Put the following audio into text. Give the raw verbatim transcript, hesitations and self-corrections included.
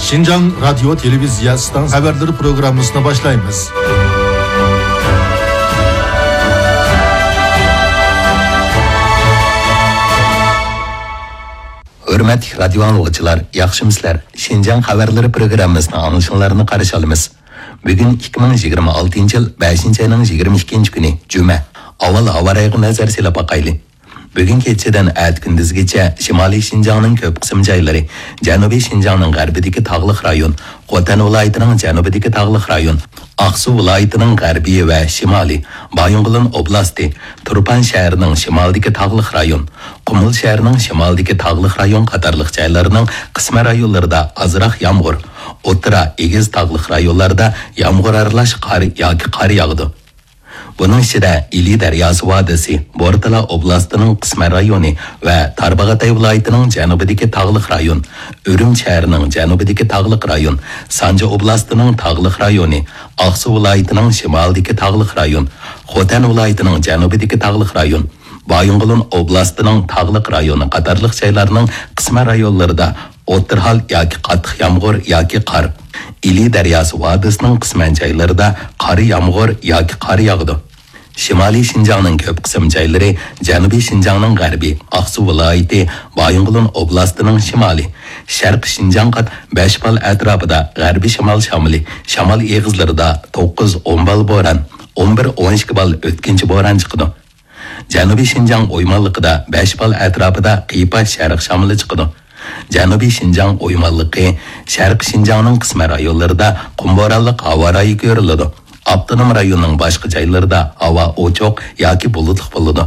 شىنجاڭ رادىيو تېلېۋىزىيە ئىستانسىيە خەۋەرلىرى پروگراممىسىنى باشلايمىز. ھۆرمەتلىك رادىيو ئاڭلىغۇچىلار، ياخشىمۇسىلەر؟ شىنجاڭ خەۋەرلىرى پروگراممىسىنىڭ ئاڭلىشىڭلارنى قارشى ئالىمىز. بۈگۈن ئىككى مىڭ يىگىرمە ئالتىنچى يىل بەشىنچى ئاينىڭ يىگىرمە ئىككىنچى كۈنى، جۈمە. ئاۋۋال ھاۋا رايىغا نەزەر سېلىپ باقايلى. بۈگۈن كېچىدىن ئەتە كۈندۈزگىچە شىمالىي شىنجاڭنىڭ كۆپ قىسىم جايلىرى، جەنۇبىي شىنجاڭنىڭ غەربىدىكى تاغلىق رايون، خوتەن ۋىلايىتىنىڭ جەنۇبىدىكى تاغلىق رايون، ئاقسۇ ۋىلايىتىنىڭ غەربىي ۋە شىمالىي، بايىنغولىن ئوبلاستى، تۇرپان شەھىرىنىڭ شىمالىدىكى تاغلىق رايون، قۇمۇل شەھىرىنىڭ شىمالىدىكى تاغلىق رايون قاتارلىق جايلارنىڭ قىسمەن رايونلىرىدا ئازراق يامغۇر، ئوتتۇرا، ئېگىز تاغلىق رايونلاردا يامغۇر ئارىلاش قار ياكى قار ياغىدۇ. بۇنىڭ ئىچىدە ئىلى دەرياسى ۋادىسى، بورتالا ئوبلاستىنىڭ قىسمەن رايونى ۋە تارباغاتاي ۋىلايىتىنىڭ جەنۇبىدىكى تاغلىق رايون، ئۈرۈمچى شەھىرىنىڭ جەنۇبىدىكى تاغلىق رايون، سانجى ئوبلاستىنىڭ تاغلىق رايونى، ئاقسۇ ۋىلايىتىنىڭ شىمالىدىكى تاغلىق رايون، خوتەن ۋىلايىتىنىڭ جەنۇبىدىكى تاغلىق رايون، بايىنغولىن ئوبلاستىنىڭ تاغلىق رايونى قاتارلىق جايلارنىڭ قىسمەن رايونلىرىدا ئوتتۇرا ھال ياكى قاتتىق يامغۇر ياكى قار، ئىلى دەرياسى ۋادىسىنىڭ قىسمەن جايلىرىدا قارا يامغۇر ياكى قار ياغىدۇ. شىمالىي شىنجاڭنىڭ كۆپ قىسىم جايلىرى، جەنۇبىي شىنجاڭنىڭ غەربى، ئاقسۇ ۋىلايىتى، بايىنغولىن ئوبلاستىنىڭ شىمالى، شەرقىي شىنجاڭغا بەش بال ئەتراپىدا غەربىي شىمال شامىلى، شامال ئېغىزلىرىدا توققۇز ئون بال بوران، ئون بىر ئون ئىككى بال ئۆتكۈنچى بوران چىقىدۇ. جەنۇبىي شىنجاڭ ئويمانلىقىدا بەش بال ئەتراپىدا قىيپاش شەرق شامىلى چىقىدۇ. جەنۇبىي شىنجاڭ ئويمانلىقى، شەرقىي شىنجاڭنىڭ قىسمەن رايونلىرىدا قۇم بورانلىق ھاۋا رايى كۆرۈلىدۇ. ئاپتونوم رايوننىڭ باشقا جايلىرىدا ھاۋا ئوچۇق ياكى بۇلۇتلۇق بولىدۇ.